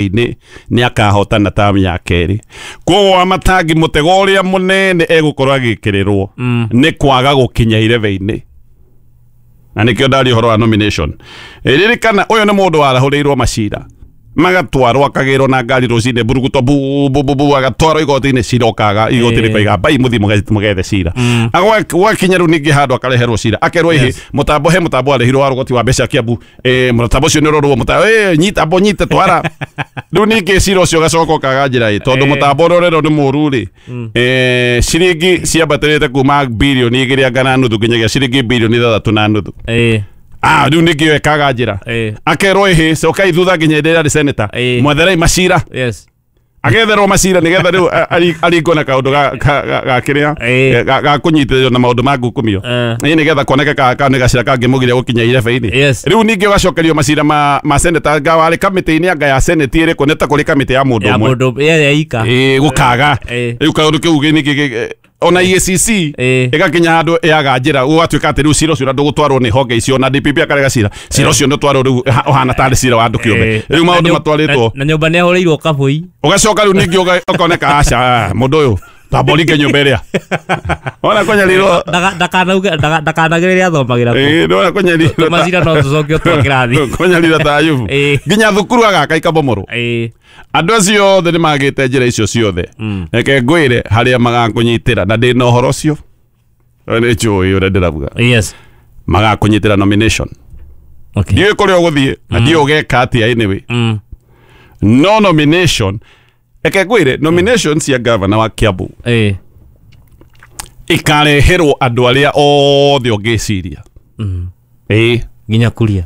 irebe-inĩ nĩ akahotana tamu ya kerĩ. Koguo Wamatangi mũtego ũrĩa mũnene egũkorwo agĩkĩrĩrwo nĩ kwaga gũkinya irebe-inĩ, na nĩkĩo ndaria ũhoro wa nomination. Ririkana ũyũ nĩ mũndũ warahũrĩirwo macira, magatwarwo akagĩrwo na ngari rũcinĩ mburuguto bu bu bu bu, agatwarwo igoti-inĩ, cira ũkaga, igoti rĩkoiga mbai mũthiĩ mũgethe cira. Gwakinya rĩu ningĩ handũ akareherwo cira, akerwo ĩhĩ mũtambo, he mũtambo arĩhirwo wa rũgoti wa mbeca Kiambu, mũtambo ũcio nĩ ũrorwo, nyita ambo nyite twara. Rĩu ningĩ cira ũcio ũgacoka ũkaga njĩra ĩ, tondũ mũtambo ũrĩa ũrerwo nĩ mũru rĩ, ciringi ciambatĩrĩte kuma 2.5 birioni nginyagia ciringi 6.5 birioni. Rĩu ningĩ ĩkaga njĩra, akerwo ĩhĩ cokai thutha nginya hĩndĩ ĩrĩa arĩ senator, mwetherai macira. Agetherwo macira nĩgetha rĩu aringwo na kaũndũ ga kĩrĩa ga kũnyitĩrĩrio na maũndũ ma ngukumio. Ĩ nĩgetha kuoneke ka nĩ gacira kangĩmũgiria gũkinya irebe-inĩ. Rĩu ningĩ ũgacokerio macira ma senator, anga warĩ kamĩtĩ-inĩ anga ya senate ĩrĩkũ, nĩ ta kũrĩ kamĩtĩ ya mũndũ ya ũmwe mũndũ ya ika. Ĩ gũkaga. Rĩu kaũndũ kĩu ningĩ ona EACC ĩgakinya handũ yaga njĩra, gũgatuĩka atĩ rĩu cira ũcio ũrĩa ndũgũtwarwo nĩ honge icio, na DPP akarega cira, cira ũcio nĩ ũtwarwo rĩu ũhana tarĩ cira wa andũ kĩũmbe. Rĩu maũndũ matwarĩtwo na nyũmba nĩ ahũrĩirwo kabũi. Ũgacoka rĩu ningĩ ũkoneka aca mũndũ ũyũ twamba ũringe nyũmba ĩrĩa ona kũnyarirwo. Ndakanauge ndakanagereria athomagĩra kũ. Ĩ, ndona kũnyarirwo Macira no tũcokio twa kĩrathi. Kũnyarira ta Ayubu nginya thukuru agaka ikabomorwo. Andũ acio othe nĩ magĩte njĩra icio ciothe. Reke ngwĩre harĩa magakũnyitĩra, na ndĩna ũhoro ũcio, nĩ njũĩ ũrĩa ndĩrauga. Magakũnyitĩra nomination. Ndiũĩ kũrĩa ũgũthiĩ na ndiũĩ ũgeka atĩa, anyway, no nomination, reke ngwĩre, nomination cia governor wa Kiambu ikareherwo andũ arĩa othe ũngĩciria. Ĩ. Nginya kuria.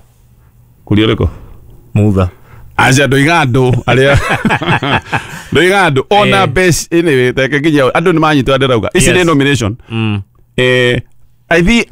Kuria ũrĩkũ? Mutha. Aca, ndoiga andũ arĩa, ndoiga andũ ona mbeca. Anyway, reke nginya andũ nĩ manyitwo ndĩrauga ici nĩ nomination.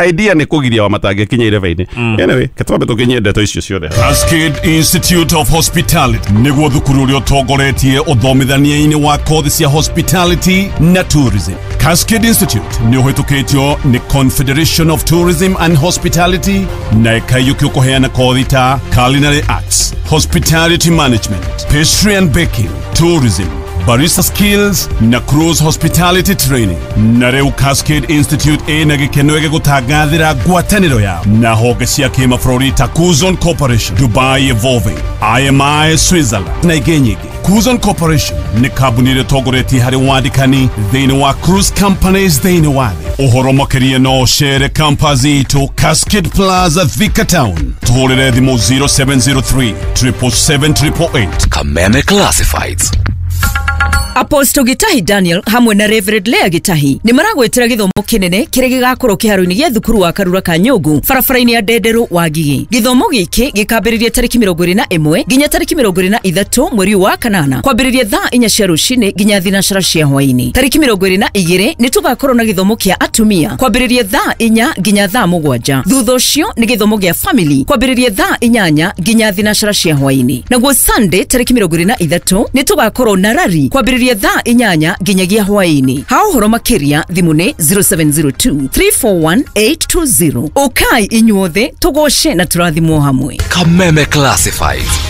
Idea nĩ kũgiria wa matangĩkinya irebe-inĩ. Anyway, ketwambe tũkinyie ndeto icio ciothe. Cascade Institute of Hospitality nĩguo thukuru ũrĩa ũtongoretie ũthomithania-inĩ wa kothi cia hospitality na tourism. Cascade Institute nĩ ũhĩtũkĩtio nĩ Confederation of Tourism and Hospitality na ĩkaiyũkio kũheana kothi ta culinary arts, hospitality management, pastry and baking, tourism, barista skills na cruise hospitality training. Na rĩu Cascade Institute ĩna gĩkeno gĩgũtangathĩra ngwatanĩro yao na honge cia kĩmabũrũri ta Cuzon Corporation, Dubai Evolving, IMI Switzerland na ingĩ nyingĩ. Cuzon Corporation nĩ kambuni ĩrĩa ĩtongoretie harĩ wandĩkani thĩinĩ wa cruise companies thĩinĩ wa thĩ. Ũhoro makĩria no ũcere campus itũ Cascade Plaza, Thika Town. Tũhũrĩre thimũ 0703 777 888. Kameme Classifieds. Apostle Gitahi Daniel hamwe na Reverend Lea Gitahi nĩ maragwĩtĩra gĩthomo kĩnene kĩrĩa gĩgakorwo kĩharo-inĩ gĩa thukuru wa Karura Kanyũngũ, barabara-inĩ ya Ndenderũ wa Ngigĩ. Gĩthomo gĩkĩ gĩkambĩrĩria tarĩki 21 nginya tarĩki 23 mweri ũyũ wa kanana, kwambĩrĩria thaa 4 cia rũcinĩ nginya thinacara cia hwaĩ-inĩ. Tarĩki 22 nĩ tũgakorwo na gĩthomo kĩa atumia kwambĩrĩria thaa 4 nginya thaa 7. Thutha ũcio nĩ gĩthomo gĩa family kwambĩrĩria thaa 8 nginya thinacara cia hwaĩ-inĩ. Naguo Sunday tarĩki 23 nĩ tũgakorwo na rari kwambĩrĩria thaa 8 nginyagia hwaĩ-inĩ. Ha ũhoro makĩria thimũ nĩ 0702 341 820. Ũkai inyuothe tũgoce na tũrathimwo hamwe. Kameme Classifieds.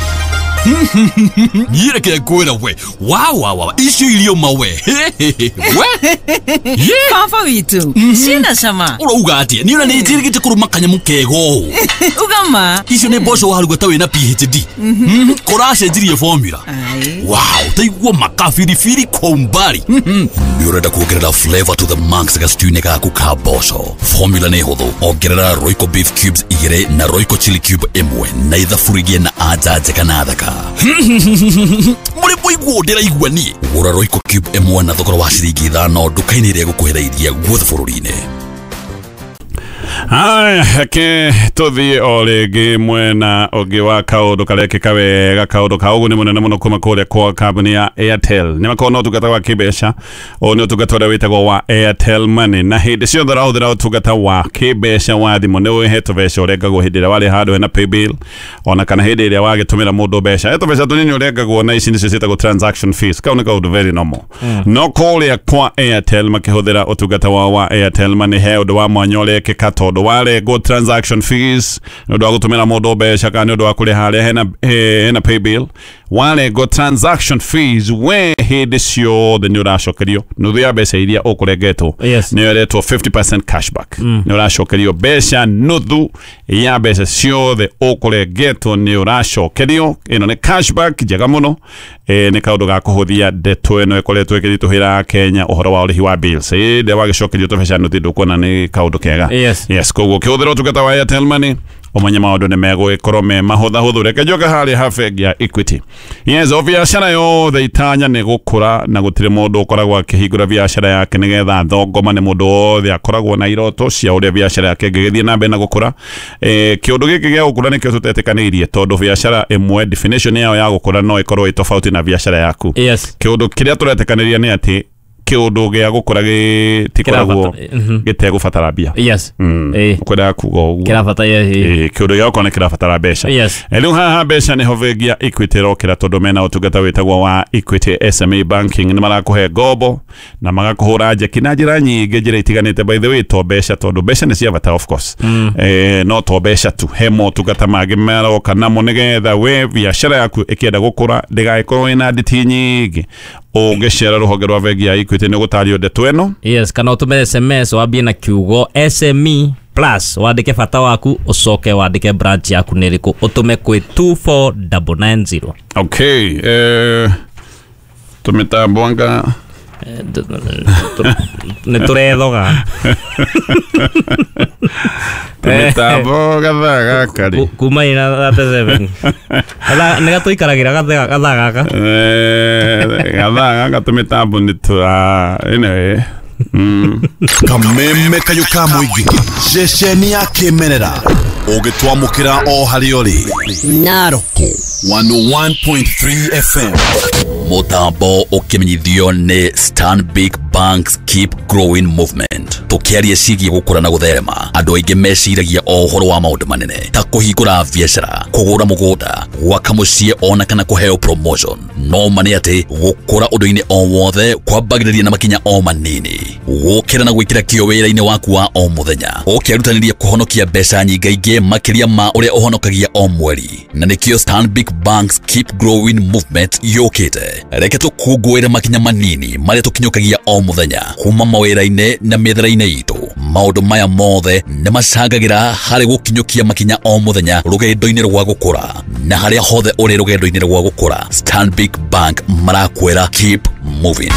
Niĩ reke ngwĩra we wa icio irio mawe we. Baba witũ ciĩna cama. Ũrauga atĩa? Niĩ ona nĩ njĩrĩgĩte kũrũma kanyamũ kega ũũ. Ugama. Icio nĩ mboco waruga ta wĩna PhD, kũracenjirie formula. Wow, taigua makabiribiri kwa umbali. Nĩ ũrenda kuongerera flavor to the max gastew-inĩ gaku ka mboco? Formula nĩ hũthũ. Ongerera Royco beef cubes 2 na Royco chili cube 1 na ithaburigie na anja njega na thaka. Mũrĩ mũiguo ndĩraigua niĩ. Gũra Royco cube 1 na thogora wa ciringi 5 nduka-inĩ ĩrĩa ĩgũkuhĩrĩirie guothe bũrũri-inĩ. Haya, reke tũthiĩ o rĩngĩ mwena ũngĩ wa kaũndũ karekĩka wega, kaũndũ ka ũguni mũnene mũno kuma kũrĩa kwa kambuni ya Airtel. Nĩ makoragwo na ũtungata wa kĩmbeca. Ũyũ nĩ ũtungata ũrĩa wĩtagwo wa Airtel Money, na hĩndĩ ciothe ũrahũthĩra ũtungata wa kĩmbeca wa thimũ nĩ ũhe tũbeca ũrengagwo hĩndĩ ĩrĩa warĩ handũ hena paybill, ona kana hĩndĩ ĩrĩa wagĩtũmĩra mũndũ mbeca, he tũbeca tũnini ũrengagwo, na ici nĩcio ciĩtagwo transaction fees. Kau nĩ kaũndũ very normal. No kũrĩa kwa Airtel makĩhũthĩra ũtungata wao wa Airtel Money, he ũndũ wa mwanya ũrekĩka, tondũ warengwo transaction fees nĩ ũndũ wa gũtũmĩra mũndũ mbeca kana nĩ ũndũ wa kũrĩha harĩa hena paybill. Warengo transaction fees we hĩndĩ ciothe nĩ ũracokerio nuthu ya mbeca iria ũkũrengetwo. Yes. Nĩyo ĩretwo 50% cashback. Nĩ ũracokerio mbeca nuthu ya mbeca ciothe ũkũrengetwo, nĩ ũracokerio. Ĩno nĩ cashback njega mũno. Nĩ kaũndũ ga kũhũthia ndeto ĩno ĩkoretwo ĩkĩritũhĩra Kenya, ũhoro wa ũrĩhi wa bills. Ĩndĩ wagĩcokerio tũbeca nuthu, ndũkuona nĩ kaũndũ kega? Yes. Yes, koguo ũkĩhũthĩra ũtungata wa Airtel Money, ũmenye maũndũ nĩ megũgĩkorwo me mahũthahũthũ. Reke njoke harĩa ha bengi ya Equity. Yes, o biacara yothe itanya nĩ gũkũra, na gũtirĩ mũndũ ũkoragwo akĩhingũra biacara yake nĩgetha thongoma. Nĩ mũndũ wothe akoragwo na iroto cia ũrĩa biacara yake ĩngĩgĩthiĩ na mbere na gũkũra. Kĩũndũ gĩkĩ gĩa gũkũra nĩkĩo tũtetĩkanĩirie, tondũ biacara ĩmwe definition yayo ya gũkũra no ĩkorwo ĩ tofauti na biacara yaku. Yes. Kĩũndũ kĩrĩa tũretĩkanĩria nĩ atĩ kĩũndũ gĩa gũkũra gĩtikoragwo gĩtegũbatara mbia. Yes. Ũkwendaga kuga ũguo. Kĩrabata, yes. Kĩũndũ gĩa gũkorwo nĩ kĩrabatara mbeca. Yes. Rĩu haha mbeca nĩho bengi ya Equity ĩrokĩra, tondũ mena ũtungata wĩtagwo wa Equity SME Banking. Nĩ marakũhe ngombo na magakũhũra njeki na njĩra nyingĩ, njĩra itiganĩte. By the way, to mbeca, tondũ mbeca nĩ cia bata of course, no to mbeca tu, he motungata mangĩ maroka namo nĩgetha we biacara yaku ĩkĩenda gũkũra ndĩgagĩkorwo ĩna nditi nyingĩ. Ũngĩcera rũhonge rwa bengi ya Equity nĩ ũgũtario ndeto ĩno. Yes, kana ũtũme SMS wambie na kiugo SME plus, wandĩke bata waku, ũcoke wandĩke branch yaku nĩ ĩrĩkũ, ũtũme kwĩ 24990. Okay, tũmĩtambo anga Nĩ tũrethoga. Tũmĩtambo gathaa gaka rĩ. Kuma ina 37 nĩ gatũikaragĩra gathaa gaka. Gathaa gaka tũmĩtambo nĩ tũra anyway. Kameme kayũ ka mũingĩ, ceceni ya kĩmerera ũgĩtwamũkĩra o harĩa ũrĩ. Naroko 101.3 FM. Mutambo ũkĩmenyithio nĩ Stanbic Banks Keep Growing Movement. Tũkĩaria ciĩgiĩ gũkũra na gũtherema, andũ aingĩ meciragia o ũhoro wa maũndũ manene ta kũhingũra biacara, kũgũra mũgũnda, gwaka mũciĩ, ona kana kũheo promotion. No ma nĩ atĩ gũkũra ũndũ-inĩ o wothe kwambagĩrĩria na makinya o manini, gũkĩra na gwĩkĩra kĩo wĩra-inĩ waku wa o mũthenya, ũkĩrutanĩria kũhonokia mbeca nyingaingĩ makĩria ma ũrĩa ũhonokagia o mweri. Na nĩkĩo Stanbic Banks Keep Growing Movement yũkĩte. Reke tũkũngũĩre makinya manini marĩa tũkinyũkagia o mũthenya kuma mawĩra-inĩ na mĩethere-inĩ itũ. Maũndũ maya mothe nĩ macangagĩra harĩ gũkinyũkia makinya o mũthenya rũgendo-inĩ rwa gũkũra. Na harĩa hothe ũrĩ rũgendo-inĩ rwa gũkũra, Stanbic Bank marakwĩra keep moving.